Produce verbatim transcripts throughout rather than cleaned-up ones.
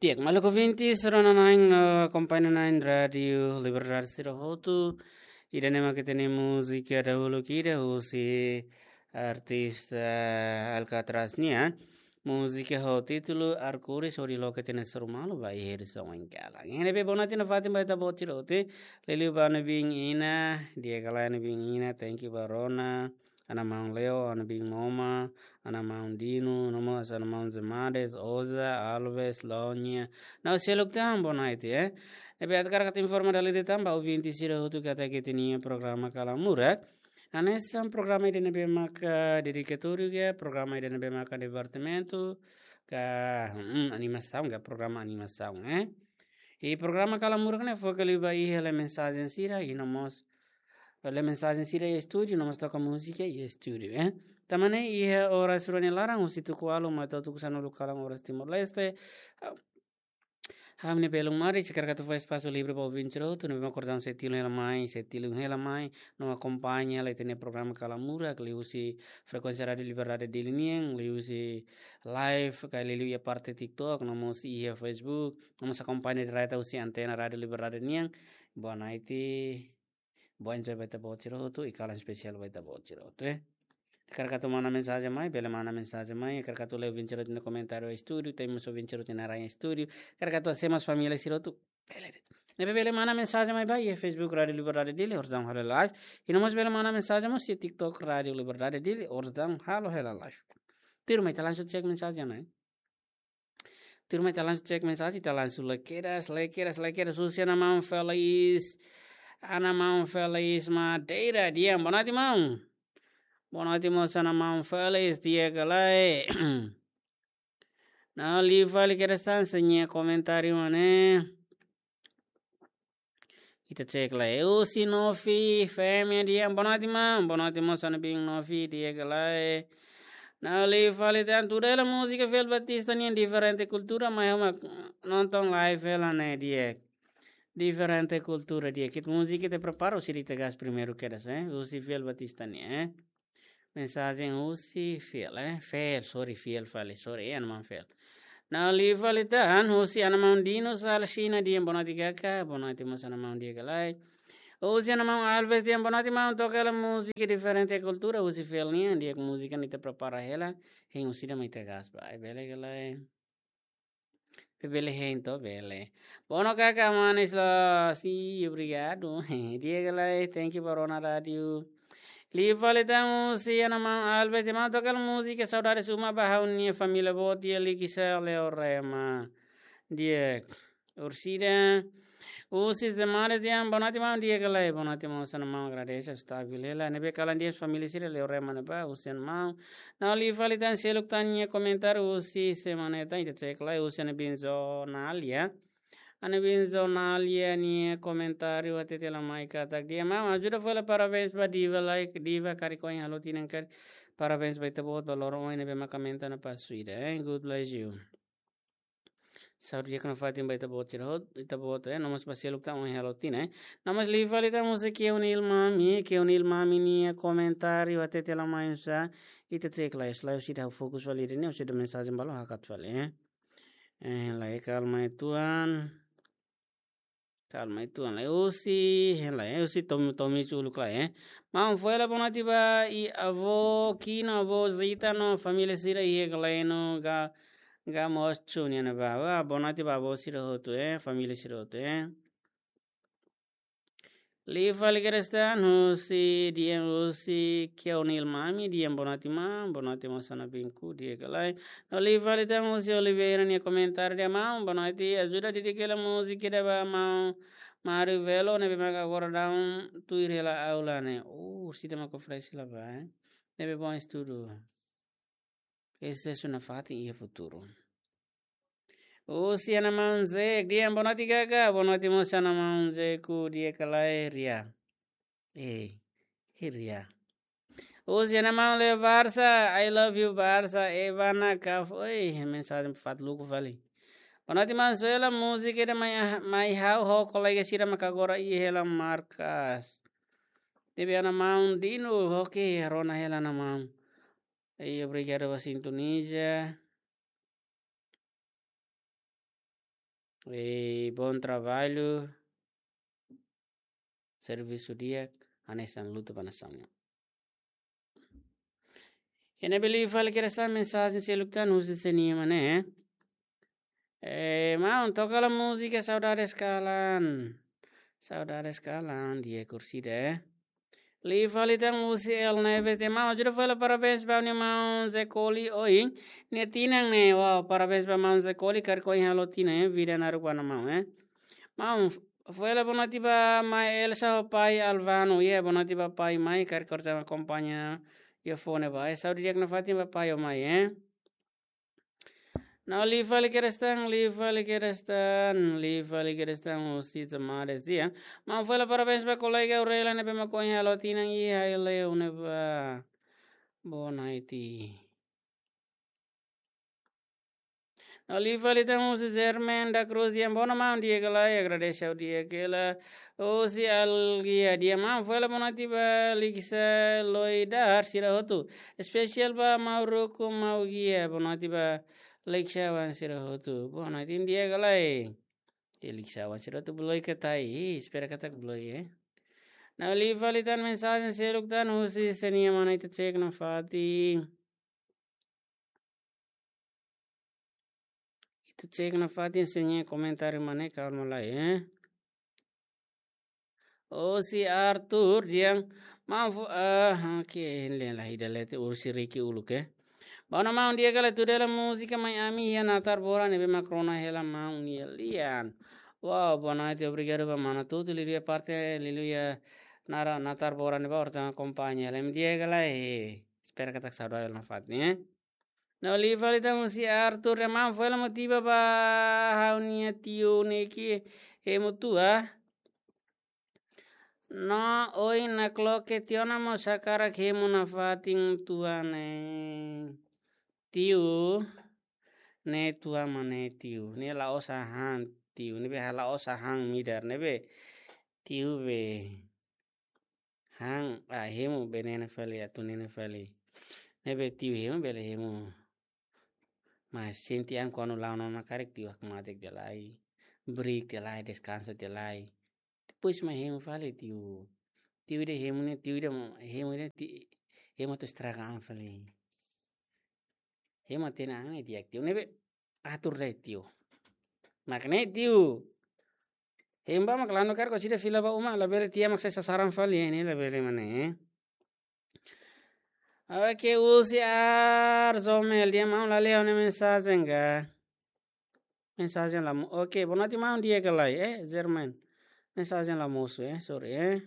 Di'ak, maluk ouvintes, rona-na'in, eh, akompaña-na'in Rádiu Liberdade sira hotu. Ida-ne'e mak ita-nia múzika dahuluk ida husi artista Alcatraz nian. Múzika ho títulu Arkuris, hodi loke ita-nia soru malu ba iha edisaun ohin kalan. Iha ne'ebé bonoite nafatin ba ita-boot sira hotu. Liuliu ba Ana Bin Ina, di'ak ka lae Ana Bin Ina, thank you ba rona. Ana maun Leo, Ana Bin Moma, Ana maun Dino, no mós Ana maun Zemades, Oza, Alves, Lonia. No seluk tan bonoite, eh. Ne'ebé hakarak atu informa dala ida tan ba ouvinte sira hotu katak ita-nia programa Kalamura. Hanesan programa ida ne'ebé maka dedikatóriu ka, programa ida ne'ebé maka divertimentu, ka, hmm, animasaun ka, programa animasaun, eh. I programa Kalamura ne'e foka liu ba iha lee mensajen sira, i no mós lee mensajen sira iha estúdiu, no mós toka múzika iha estúdiu, eh. Tanba ne'e iha oras rua nia laran, husi tuku ualu mai to'o tuku sanulu kalan oras Timor-Leste. Ha'u-nia belun Mari, hakarak atu fó espasu livre ba ouvinte sira hotu, ne'ebé mak kordang sei tilun hela mai, sei tilun hela mai, no akompaña hela ita-nia programa Kalamura, liuhusi frekuénsia Rádiu Liberdade Dili nian, liuhusi live, ka liuliu iha parte TikTok, no mós iha Facebook, no mós akompaña direta husi antena Rádiu Liberdade nian. Bonoite. Boa enjoy ba ita-boot sira hotu, i kalan espesiál ba ita-boot sira hotu, eh. Hakarak atu manda mensajen mai, bele manda mensajen mai, hakarak atu lee ouvinte sira hotu nia komentáriu iha estúdiu, temos ouvinte sira hotu nia naran iha estúdiu, hakarak atu hasoru família sira hotu, bele de'it. Ne'ebé bele manda mensajen mai ba iha Facebook Rádiu Liberdade Dili, oras daudaun halo live, i no mós bele manda mensajen mós iha TikTok Rádiu Liberdade Dili, oras daudaun halo hela live. Tuirmai ita langsung cek mensajen, eh. Tuirmai ita langsung cek mensajen, ita langsung lee kedas, lee kedas, lee kedas. Husi Ana maun Felis, Ana maun Felis Madeira, di'ak, bonoite maun. Bonoite mós Ana maun Felis, di'ak ka lae. No liu fali kedas tan sira-nia komentáriu mak ne'e. Ita cek lai. Husi Novi Femi, di'ak, bonoite maun, bonoite mós Ana Bin Novi, di'ak ka lae. No liu fali tan, tuda hela múzika Fiel Batista nian, Diferente Kultura, mai ha'u mak nonton live hela ne'e, di'ak. Diferente Kultura, di'ak. Ita múzika ita prepara, husi ita gás primeiru kedas, eh. Husi Fiel Batista nian, eh. Mensajen husi Fiel, eh? Fiel, sorry, Fiel fali, sorry, eh, Ana maun Fiel. No liu fali tan, husi Ana maun Dino Salsina, di'ak, bonoite kaka, bonoite mós Ana maun, di'ak ka lae. Husi Ana maun Alves, di'ak, bonoite maun, toka hela múzika Diferente Kultura, husi Fiel nian, di'ak, múzika ne'e ita prepara hela, hein husi ida mai ita gás ba, bele ka lae. Bele hein to, bele. Bono kaka manis loos, i obrigadu. Di'ak ka lae, thank you ba rona rádiu. Liu fali tan husi Ana maun Alves, di'ak maun, toka hela múzika Saudades Uma ba ha'u-nia família boot iha Likisá, Leorema. Di'ak. Orsida. Husi Zemades, di'ak, bonoite maun, di'ak ka lae, bonoite maun, Ana maun, agradese, stabil hela. Ne'ebé kalan di'ak família sira Leorema ne'ebá, husi Ana maun. No liu fali tan seluk tan nia komentáriu husi semana ida tan, ita cek lai, husi Ana Bin Zonalia. Ana Bin Zonalia nia komentáriu hatete hela mai katak, di'ak maun, ajuda fó hela parabéns ba Diva, like, Diva karik ohin halo tinan karik. Parabéns ba ita-boot ba loron ohin ne'ebé maka menta ona pasu ida, eh, God bless you. Saúde di'ak nafatin ba ita-boot sira hotu, ita-boot, eh, no mós ba seluk tan ohin halo tinan, eh. No mós liu fali tan husi Keunil Mami, Keunil Mami nia komentáriu hatete hela mai oinsá, ita cek lai, selae husi ida ha'u fokus fali ida-ne'e, husi ida mensajen balu hakat fali, eh. Eh, lai kalma uitoan. Kalma uitoan lai husi, hein lai, husi Tom, Tomi Chuluk lai, eh. Maun, fó hela bonoite ba iha avó Kina, avó Zita no família sira iha Galeno, Ga, Gamocho nian ne'ebá. Wah, bonoite ba avó sira hotu, eh, família sira hotu, eh. Liu fali kedas tan husi, di'ak, husi Keunil Mami, di'ak, bonoite maun, bonoite mós Ana Bin Ku, di'ak ka lae. No liu fali tan husi Oliveira nia komentáriu, di'ak maun, bonoite, ajuda dedika hela múzika ida ba maun Mário Velo, ne'ebé maka agora daudaun tuir hela aula ne'e. Oh, husi ida maka oferese hela ba, eh. Ne'ebé bom estudu. Susesu nafatin iha futuru. Husi Ana maun Zek, di'ak, bonoite kaka, bonoite mós Ana maun Zeku, di'ak ka lae, Ria. Eh, eh, Ria. Husi Ana maun Leo Barça, I love you Barça, Evana Kaf, oi, mensajen fatuk luku fali. Bonoite maun, só hela múzika ida mai, mai ha'u ho kolega sira maka agora iha hela markas. Ne'ebé Ana maun Dino, oke, rona hela Ana maun. Ei, obrigadu ba sintoniza. E bom trabalho. Servisu di'ak, hanesan luta ba nasaun nian. Iha ne'ebé liu fali kedas tan mensajen seluk tan husi Senia Mane. Eh, maun, toka hela múzika Saudades Kalan. Saudades Kalan, di'ak orsida, eh. Liu fali tan husi El Neves dehan, maun, ajuda fali halo parabéns ba ha'u-nia maun Zekoli ohin nia tinan ne'e. Wow, parabéns ba maun Zekoli, karik ohin halo tinan, eh, vida naruk ba ha'u-nia maun, eh. Maun, fó hela boa noite ba mai Elsa ho pai Alvano, iha boa noite ba pai mai, karik orsida akompaña iha fone ba, eh, saúde di'ak nafatin ba pai ho mai, eh. Não, liu fali kedas tan, liu fali kedas tan, liu fali kedas tan, husi Tamades dehan. Maun, fó hela parabéns ba kolega Aurela ne'ebé mak ohin halo tinan iha Aileu ne'ebá. Boa noite. Não, liu fali tan husi Germen da Cruz dehan, boa noite maun, di'ak ka lae, agradese ha'u di'ak hela. Husi Algia dehan, maun, fó hela boa noite ba Liksa Loidar sira hotu. Espesiál ba maun Ruku, maun Gia, boa noite ba Liksa wan sira hotu. Boa noite, di'ak ka lae. E Liksa wan sira hotu bloke ka lae, ih, espera katak bloke, eh. Não, liu fali tan mensajen seluk tan husi Senia Mane, ita cek nafatin. Ita cek nafatin Senia komentáriu mane, kalma lai, eh. Husi Arthur dehan, maun fó, ah, oke, lae, lae, ida lete husi Ricky uluk, eh. Boa noite maun, di'ak ka lae, tuda hela múzika Mai Ami iha Natar Bora ne'ebé mak rona hela maun nia lian. Wow, boa noite, obrigadu ba mana tutu, liuliu iha parte, liuliu iha Nara, Natar Bora ne'ebá orsida akompaña hela, di'ak ka lae, eh. Espera katak saudades nafatin, eh. Não, liu fali tan husi Arthur dehan, maun, fó hela motiva ba ha'u-nia tiu ne'e ke hemu tua. No, ohin nakloke tiha ona mós hakarak hemu nafatin tua ne'e. Tiu, ne'e tua mane tiu. Ne'e la'ós hahán tiu. Ne'ebé la'ós hahán midar. Ne'ebé tiu be han, ah, hemu be ne'e ne'e fali, atu ne'e ne'e fali. Ne'ebé tiu hemu bele hemu. Mas sente an kuandu la'o ona karik tiu hakmatek tiha lai. Brik tiha lai, deskansa tiha lai. Depois mai hemu fali tiu. Tiu ida hemu ne'e, tiu ida hemu ida ti-, hemu atu estraga an fali. Hemu atu hatene an ne'e di'ak tiu. Ne'ebé atur de'it tiu. Mak ne'e tiu. Hemu ba mak lanu karik orsida fila ba uma, labele tia mak sai sasaran fali, eh, ne'e labele mane, eh. Oke, husi Arzomel dehan, maun, la lee ha'u-nia mensajen ka. Mensajen la mo-, oke, boa noite maun, di'ak ka lae, eh, German. Mensajen la mosu, eh, sorry, eh.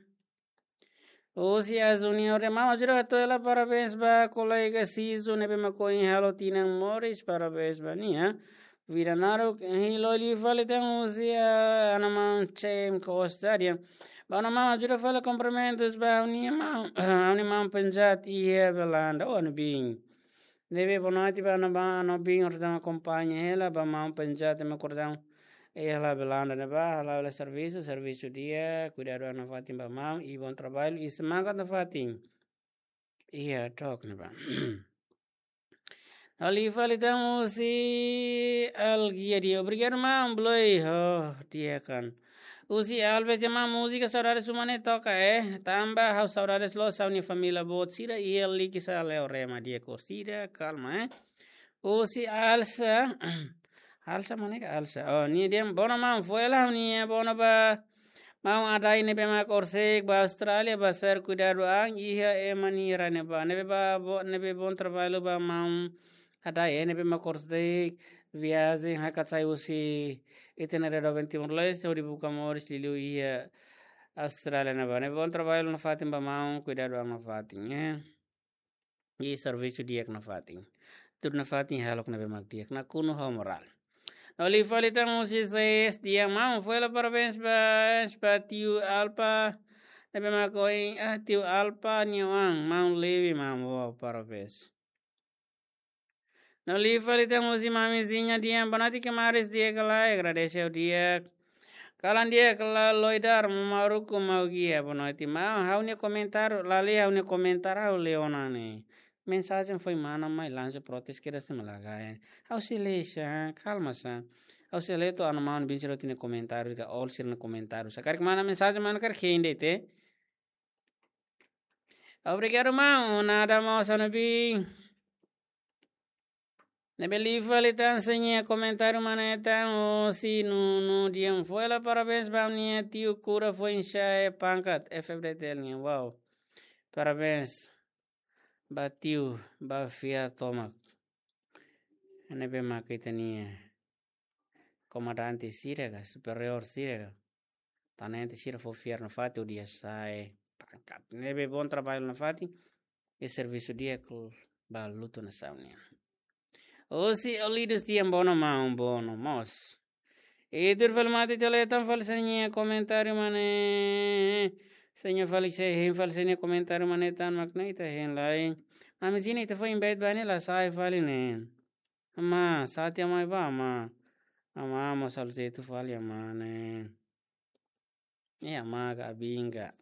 Husi A Junior dehan, maun, ajuda hato'o hela parabéns ba kolega Sisu ne'ebé mak ohin halo tinan moris, parabéns ba nia. Vida naruk, eh, liu fali tan husi, ah, ha'u-nia maun Cem Costa dehan, ba ha'u-nia maun, ajuda fali kumprimentus ba ha'u-nia maun, ha'u-nia maun Penjat iha Belanda, oh, ha'u-nia biin. Ne'ebé boa noite ba ha'u-nia maun, ha'u-nia biin orsida akompaña hela, ba maun Penjat ema kordang iha Belanda ne'ebá, hala'o hela servisu, servisu di'ak, kuidadu an nafatin ba maun, i bom trabalho, i semangat nafatin. Iha tok ne'ebá. Liu fali tan husi Algia dehan, obrigadu maun, bloke ho di'ak an. Husi Alves dehan, maun, múzika Saudades Uma ne'e toka, eh. Tanba ha'u saudades loos ha'u-nia família boot sira iha Likisá, Leorema, di'ak orsida, kalma, eh. Husi Alsa, Alsa mane ka Alsa? Oh, nia dehan, boa noite maun, fó hela ha'u-nia boa noite ba maun Adai ne'ebé mak horisehik ba Austrália, ba ser kuidadu an iha ema nia rai ne'ebá. Ne'ebé ba bo-, ne'ebé bom trabalho ba maun Adai, eh, ne'ebé mak horisehik viajen hakat sai husi ita-nia rai doben Timor-Leste, hodi buka moris liuliu iha Austrália ne'ebá. Ne'ebé bom trabalho nafatin ba maun, kuidadu an nafatin, eh. I servisu di'ak nafatin. Tuir nafatin halo ne'ebé mak di'ak, nakonu ho morál. Liu fali tan husi Zes dehan, maun, fó hela parabéns ba, ba tiu Alpa. Ne'ebé mak ohin, ah, tiu Alpa nia oan, maun Levi, maun, wow, parabéns. Liu fali tan husi Mamizinha dehan, boa noite kamaris, di'ak ka lae, agradese ha'u di'ak. Kalan di'ak ka lae, Loidar, maun Ruku, maun Gia, boa noite maun. Ha'u-nia komentáriu, la lee ha'u-nia komentáriu, ha'u lee ona ne'e. Mensajen foin mana mai lansa protes kedas ne'e malagai. Ha'u sei lee sá, kalma sá. Ha'u sei lee to'o ha'u-nia maun Bin Siroti nia komentáriu ka Ol sira-nia komentáriu. Se karik manda mensajen, maun karik hein de'it. Obrigadu, maun. Nada, maun, sano bin. Ne'ebé liu fali tan, sira-nia komentáriu mane tan, Osi Nunu Dian. Foin hela parabéns ba nia tiu kura foin sa'e pangkat F F D T L nian. Wow. Parabéns ba tiu, ba fiar tomak. Ne'ebé mak ita-nia komandante sira ka, superiór sira ka, tenente sira fó fiar nafatin hodi sa'e pangkat. Ne'ebé bom trabalho nafatin, e servisu di'ak ba lutu nasaun nian. Osi Olidus Tian, bono maun, bono mós. E tuir fali mate tele tan fali sira-nia komentáriu mane. Sira-nia fali sei hein fali sira-nia komentáriu mane tan mak ne'e ita hein lai. Ami sini ita foin invite ba ne'e la sai fali ne'e. Ama, sati ama ba ama. Ama, ama salu tetu fali ama ne'e. E ama ka abinga.